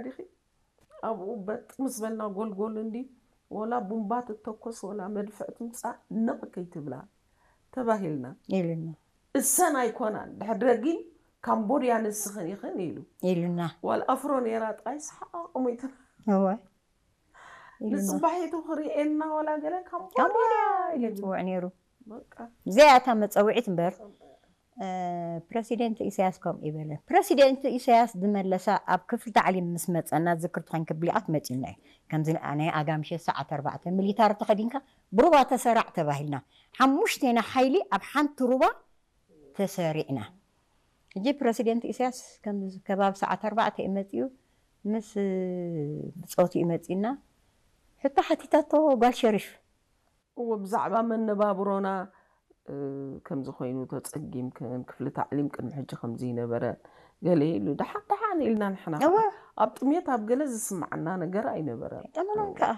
ዲኺ? ኣብኡ በጥ ምስ በልና ጎልጎል እንዲ ወላ ቡምባ ትተኮስ ወላ መድፍዕ ትምፃእ ነቕ ከይትብላ ተባሂልና። ኢሉና። እሰን ኣይኮናን ድሕድረጊ ካምቦድያ ንስኽን ኢኽን ኢሉ። ኢሉና። ዋል ኣፍሮ ነይራ ጥራይ ሰሓቕ ሞይትና። እወ። ንፅባሒቱ ክርእየና ወላ ገለ ካምቦድያ ካምቦድያ ኢሉ ኢሉ። ዝፅውዕ ነይሩ። በቃ እዚኣ እታ መፀውዒት እምበር እ፣ ፕረሲደንት ኢሳያስ ከምኡ ይበለ። ፕረሲደንት ኢሳያስ ዝመለሳ ኣብ ክፍሊ ታዕሊም ምስ መፀና ዝክር ትኾን ክብሊኣት መፂና እዩ። ከምዚ ናይ ኣጋምሸ ሰዓት ኣርባዕተ ሚሊታር ተኸዲንካ ብሩባ ተሰራዕ ተባሂልና። ሓሙሽቴና ሓይሊ ኣብ ሓንቲ ሩባ ተሰሪዕና። ሕጂ ፕረሲደንት ኢሳያስ ከምዚ ከባቢ ሰዓት ኣርባዕተ እዩ መፂኡ። ምስ ብፆቱ እዩ መፂና። ሕቶ ሓቲታቶ ጓል ሸሪፍ። እወ ብዛዕባ መነባብሮና እ፣ ከምዚ ኮይኑ ተፀጊምክን ክፍሊ ታዕሊም ቅድሚ ሕጂ ከምዚ ይነበረ ገለ ኢሉ ደሓን ደሓን ኢልና ንሕና እወ። ኣብ ጥሜት ኣብ ገለ ዝስማዓና ነገር ኣይነበረን። ኣይጠመናን ከዓ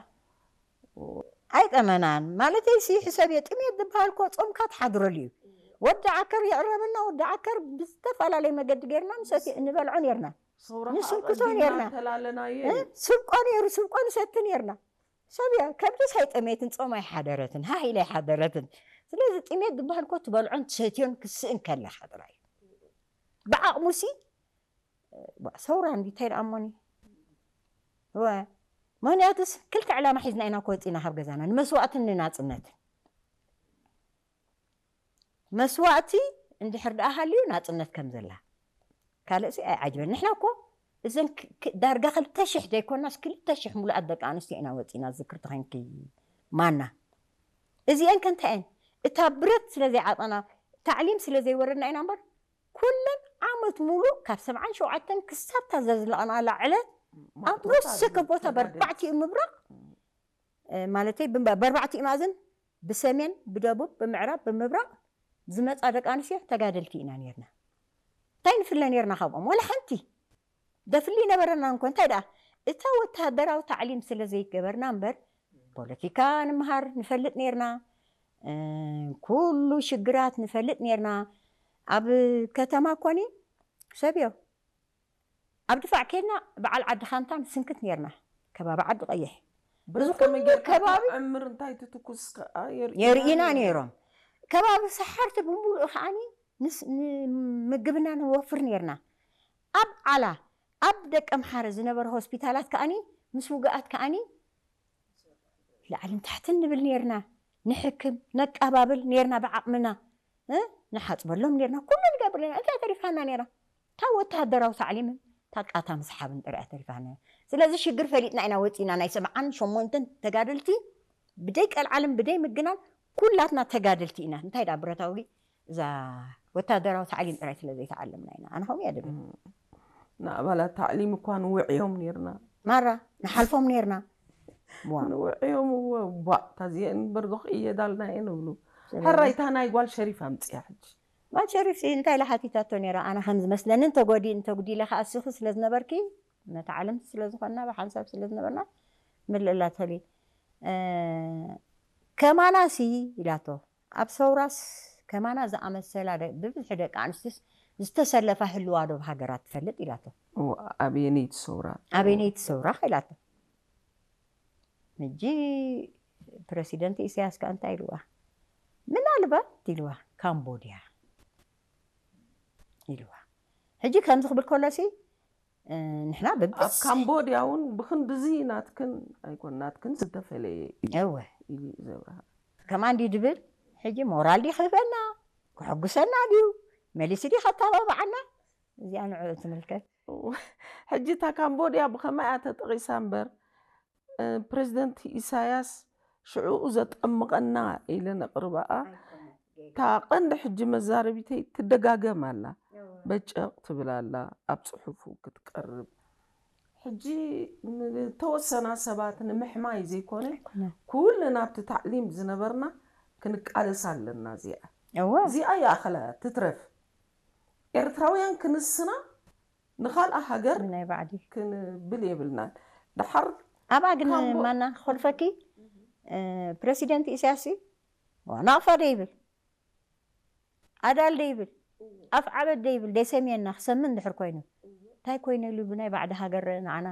ኣይጠመናን ማለተይ ሲ ሕሰብ እየ። ጥሜት ዝበሃል እኮ ፆምካ ትሓድረሉ እዩ። ወዲ ዓከር የቕረበና። ወዲ ዓከር ብዝተፈላለየ መገዲ ገይርና ንሰቲ እንበልዖ ነርና። ሰውራ ንስንክቶ ኣቐዲምና ነርና። ተላለናዮ እ? እዩ። ስብቆ ነይሩ፣ ስብቆ ንሰቲ ነርና። ሰብ እያ ከብድስ ኣይጠመየትን ፆም ኣይሓደረትን ሃህ ኢላ ኣይሓደረትን። ስለዚ ጥሜት ዝበሃል እኮ ትበልዖን ትሰትዮን ክስእን ከለካ ጥራይ እዩ። ብዓቕሙሲ ዋ፣ ሰውራ እንዲ እንታይ ደኣ እሞኒ ወ ምክንያቱስ ክልተ ዕላማ ሒዝና ኢና ክወፂና ካብ ገዛና ንመስዋእትን ንናፅነትን። መስዋእቲ እንድሕር ደኣ ሃልዩ ናፅነት ከም ዘላ ካልእሲ ኣይዓጅበን። ንሕና እኮ እዘን ክ- ክ- ዳርጋ ክልተ ሽሕ ዘይኮናስ ክልተ ሽሕ ሙሉኣት ደቂ ኣንስትዮ ኢና ወፂና ዝክር ተኸንኪ ማና እዚአን ከንታየን እታ ብረት ስለ ዘይዓጠና ታዕሊም ስለ ዘይወረድና ኢና እምበር ኩለን ዓመት ሙሉእ ካብ ሰብዓን ሸውዓተን ክሳብ እታ ዘዝለቐናላ ዕለት ኣብ ማእቶታት ወሰከ ቦታ ተጋደልቲ። በርባዕቲኡ ምብራቕ እ፣ ማለተይ ብም- በርባዕቲኡ ማእዝን ብሰሜን ብደቡብ ብምዕራብ ብምብራቕ ዝመፃ ደቂ ኣንስትዮ ተጋደልቲ ኢና ነርና። እንታይ ንፍለ ነርና ካብኦም ወላ ሓንቲ ደፍሊ ነበረና እንኮ እንታይ ደኣ እታ ወታደራዊ ታዕሊም ስለ ዘይገበርና እምበር ፖለቲካ ንምሃር ንፈልጥ ነርና። እ፣ ኩሉ ሽግራት ንፈልጥ ነርና። ኣብ ከተማ ኮኒ ሰብዮ ኣብ ድፋዕ ኬድና በዓል ዓዲ ካንታን ስንክት ነርና። ከባቢ ዓዲ ቀይሕ ብረት እዚ ከመይ ኩሉ ጌርካ ከባቢ ዕምር እንታይ ትትኩስ ከኣ የርእና ነይሮም። ከባቢ ሰሓርቲ ብምሉእ ከዓኒ ምስ- ንምግብና ንወፍር ነርና። ኣብ ዓላ ኣብ ደቂ ኣምሓረ ዝነበረ ሆስፒታላት ከዓኒ ምስ ውግኣት ከዓኒ ላዕልን ታሕትን ንብል ነርና። ንሕክም ነቃባብል ነርና ብዓቕምና እ? ንሓፅበሎም ነርና ኩሉ ንገብር ነርና። እንታይ ተሪፋና ነራ? እታ ወተሃደራዊ ታዕሊምን እታ ቃታ ምስሓብን ጥራይ ተሪፋና። ስለዚ ሽግር ፈሊጥና ኢና ወፂና ናይ ሰብዓን ሸሞንተን ተጋደልቲ ብደይ ቀልዓልን ብደይ ምግናን ኩላትና ተጋደልቲ ኢና። እንታይ ዳ ብረታዊ እዛ ወታደራዊ ታዕሊም ጥራይ ስለ ዘይተዓለምና ኢና። ኣነ ከምኡ እየ ድብል። ንኣባላት ታዕሊም እኳ ንውዕዮም ነርና። ማራ ንሓልፎም ነርና። ዋ ንውዕዮም እወ ቧዕ ታዚአን እምበር ዶ ክእየዳልና እየ ንብሉ። ሕራይ እታ ናይ ጓል ሸሪፍ ኣምፅያ ሕጂ። ጓል ሸሪፍ ሲ እንታይ ኢላ ሓቲታቶ ነይራ? ኣነ ከም ዝመስለኒ እንተጎዲ እንተጉዲለ ከኣ እስኺ ስለ ዝነበርኪ ነቲ ዓለምቲ ስለ ዝኾንና ብሓንሳብ ስለ ዝነበርና ምልእላ ተሊ ከማና ሲ ኢላቶ። ኣብ ሰውራስ ከማና ዝኣመሰላ ደ- ብብዝሒ ደቂ ኣንስትዮስ ዝተሰለፋ ህልዋ ዶ ሃገራት ትፈልጥ ኢላቶ። እወ፣ ኣበየነይቲ ሰውራ? ኣበየነይቲ ሰውራ ኢላቶ። ሕጂ ፕረሲደንት ኢሳያስ ከ እንታይ ኢልዋ? ምናልባት ኢልዋ ካምቦድያ ኢልዋ። ሕጂ ከምዚ ክብል ከሎሲ እ፣ ንሕና ኣብ ብብስ ካምቦድያ እውን ብክንድዚ ናትክን ኣይኮን ናትክን ዝተፈለየ እዩ እወ ኢሉ እዩ ዘብርሃ። ከማን ድዩ ድብል ሕጂ ሞራል ድዩ ክህበና ክሕጉሰና ድዩ መሊሱ ድዩ ከተባብዓና? እዚኣ ንዕኡ ትምልከት። ሕጂ እታ ካምቦድያ ብኸመይ እያ ተጠቒሳ እምበር እ፣ ፕሬዚደንት ኢሳያስ ሽዕኡ ዘጠምቐና ኢለ ነቕርበኣ። እታ ቀንዲ ሕጂ መዛረቢተይ ትደጋገም ኣላ። በጨቕ ትብል ኣላ ኣብ ጽሑፉ ክትቀርብ። ሕጂ ንተወሰና ሰባት ንምሕማይ ዘይኮነ ኩልና ኣብቲ ታዕሊም ዝነበርና ክንቃለስ ኣለና። እዚኣ እወ እዚኣ ይኣኸላ ትትረፍ። ኤርትራውያን ክንስና ንኻልኣ ሃገር ናይ ባዕዲ ክንብል የብልናን። ድሓር ኣብኣ ግን ካምቦ- ማና ክኾልፈኪ እ፣ ፕረሲደንት ኢሳያስ እዩ። ዋ፣ ናቕፋ ደይብል ኣዳል ደይብል ኣፍ ዓበድ ደይብል ደይሰምየና ክሰምን ድሕር ኮይኑ እንታይ ኮይኑ ኢሉ ብናይ ባዕዲ ሃገር ንዓና